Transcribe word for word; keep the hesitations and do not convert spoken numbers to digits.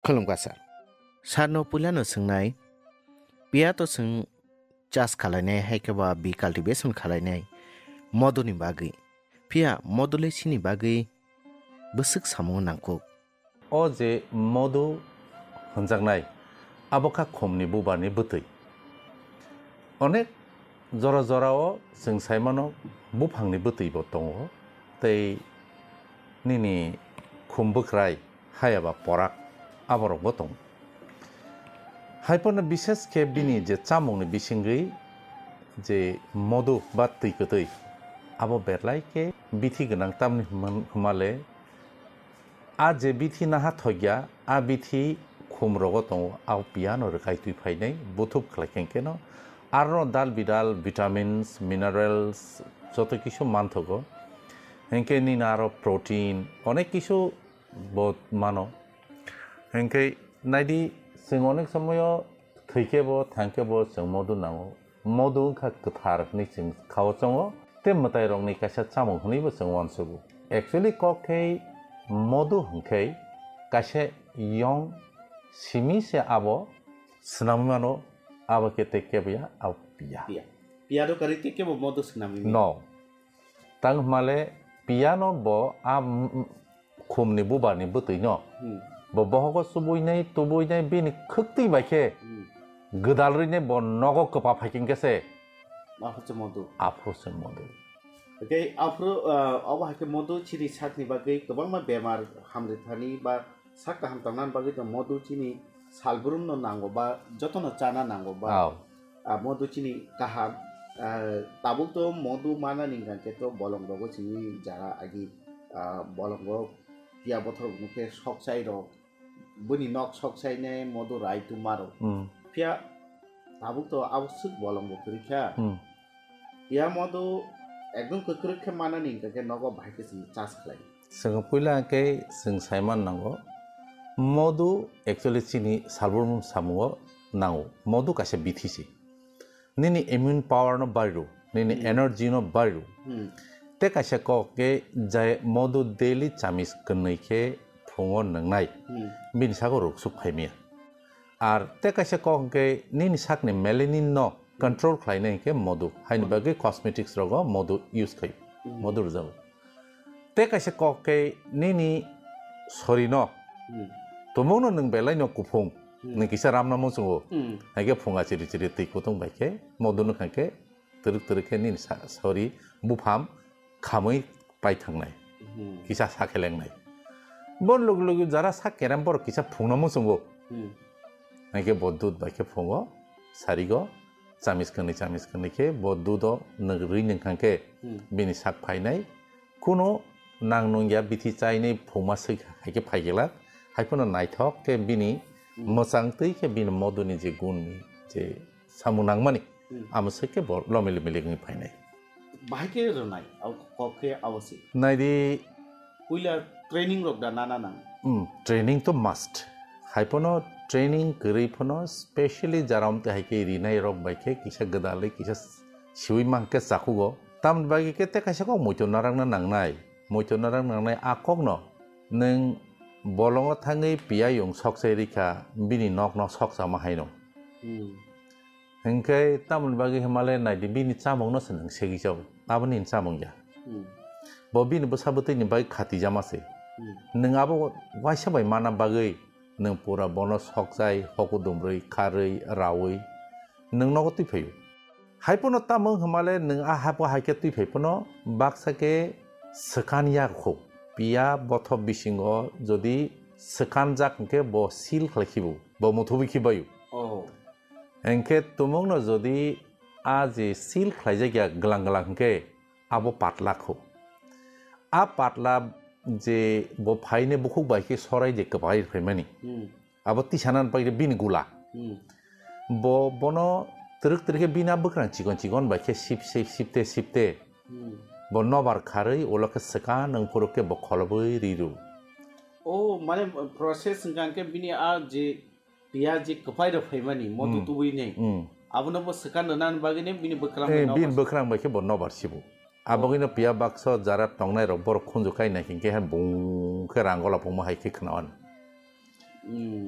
Khulumkha sir. Sir no puila no swngnai, piya to chwng chas khalainai hai khe ba bi cultivation khalainai moduni bagwi. Phiya module chini bagwi bwswk samung nangkuk. O je modu hwnjaknai, abo kha khumni bubarni bwtwi. Onek jora jorao chwng saimano buphangni bwtwibo tongo, tei nini khum bwkrai hayaba porak aborokbo tongo. Haiphano bishes khe bini je chamungni bisingwi je modu ba twi kwtwi, abo berlai khe bithi gwnang, tamni hwnman-, hwnmale a je bithi naha thokya, a bithi khum rogo tongo, a piano rwkai twi phainai, buthup khlai khe keno. Aro dal bidal, vitamins, minerals, joto kisu manthogo. Hinkhe nini aro protein, onek kisu bo mano. Hinkhe naidi, chwng onek somoyo thwikhe bo, thangkhe bo chwng modu nango. Modu wngkha kwthar hwnwi chwng khao chongo, tei mwtairokni kaisa chamung hwnwibo chwng uansugo. Actually, kok khe modu hwnkhe kaisa yong simi se abo swnamwi mano, abo khe tei kebo ya, abo piya. Piya. Piya do kari tei kebo modu swnamwi mano. No. Tang hwnmale piyano bo a m-, m-, khumni bubarni bwtwino Hmm. bo bohogo chubuinai, tubuinai, bini khwktwi bai khe Hmm. gwdal rwinai bo nogo kwpa phai khe se Aphuru se modu. Aphuru se modu. Tei aphuru, ah, obo hai khe modu chini sakni bagwi kwbangma bemar hamrithani ba sak kaham tongnani bagwi tong modu chini salbrumno nango ba jotono chana nango ba. Aw. Ah, modu chini kaham, ah, tabuk to modu manani hwnkha khe to bolong rogo chini jara agi, ah, bolongo piya bothor hwnkhe sok chai rok, bini nok sok chai nai modu rai tuma rok. Hmm. Phiya tabuk to abo swk bolong bo kwrwi kha. Hmm. Piya modu ekdom kwkrwk khe manani hwnkha khe nogo bahai khe chini chas khlai. Chwng puila khe chwng saiman nango. Modu actually chini salbrum samungo nango. Modu kaisa bithi se. Nini immune power no bairu, nini Hmm. energy no bairu. Hmm. Te kaisa kok khe jai modu daily chamis kwnwi khe phungo nwngnai. Hmm. Bini sago ruk suk phaimya. Ar te kaisa kok hwnkhe nini sakni melanin no control khlainai hwnkhe modu. Haini Hmm. bagwi cosmetics rogo modu use khaio. Hmm. Modu rwjago. Te kaisa kok khe nini sorino Hmm. tumungno nwng belai no kuphung Hmm. nwng kisa ramna muchungo. Hmm. Haikhe phunga chiri chiri twi kutung bai khe modu nwng khe twrwk twrwk khe nini sa-, sori bupham khamwi pai thangnai. Hmm. Kisa sakhelengnai. Bon lugu lugu jara sak kerem borok kisa phungna muchungo. Hmm. Haikhe bo dud bai khe phungo sarigo. Chamis kwnwi, chamis kwnwi khe bo dudo nwk rwi nwng kha khe Hmm. bini sak phainai. Kuno nang nungya bithi chainai phungma swi hai khe phai glak. Hai phano naithok khe bini Hmm. mwchang twi khe bini moduni je gun je samung nangmani, Hmm. amo swi khe bo lomili mili wngwi phainai. Bahai khe rwnai, au kok khe abo se. Naidi. Puila training rok da nana nang. Hmm, training to must. Hai phano training kwrwi phano specially jaram te hai khe rinai rok bai khe kisa gwdalwi kisa siwi mang khe chakhugo. Tamni bagwi khe te kaisa kok muitu narang na nangnai. Muitu narang nangnai a kok no nwng bolongo thangwi piyayung sok sai rikha bini nok no sok sama haino. Hmm. Hinkhe tamoni bagwi hwnmale naidi bini chamungno se nwng segwi jago. Abo nini chamung ya. Hmm. Bo bini bwsa bwtwini bagwi khatijama se. Hmm. Nwng abo waisa bai mana bagwi nwng pura bono sokjai, hoku dumrwi, kharwi, rawi nwng nogo twi phaio. Hai phano tamo hwnmale nwng a hapo hai khe twi phai phano baksa khe swkan ya kho. Piya bothop bisingo jodi swkanjak hwnkhe bo seal khlai khibo, bo muthubwi khibaio. Oh. Hinkhe tumungno jodi a je seal khlaijak ya glang glang hinkhe abo patla kho. A patla je bo phaine bukhuk bai khe sorai je kwbai phaimani. Hmm. Abo tisanani bagwi bini gula. Hmm. Bo bono twrwk twrwk khe bini a bwkrang chikon chikon bai khe sip sip sipte sipte Hmm. bo nobar kharwi ulo khe swkan nwng phuru khe bo kholobwi riru. Oh, mane process hwnkha khe bini a je piya je kwphai rok phaimani modu Hmm. tubui nai. Hmm. Abono bo swkan rwnani bagwi nai bini bwkrang Eh, bai bini nobar. Bwkrang bai khe bo nobar sibo. Abogwino piya baksa jara tongnai rok borok khunju kai nai hinkhe hai bung khe rang gola phungma hai khe khnawan. Hmm.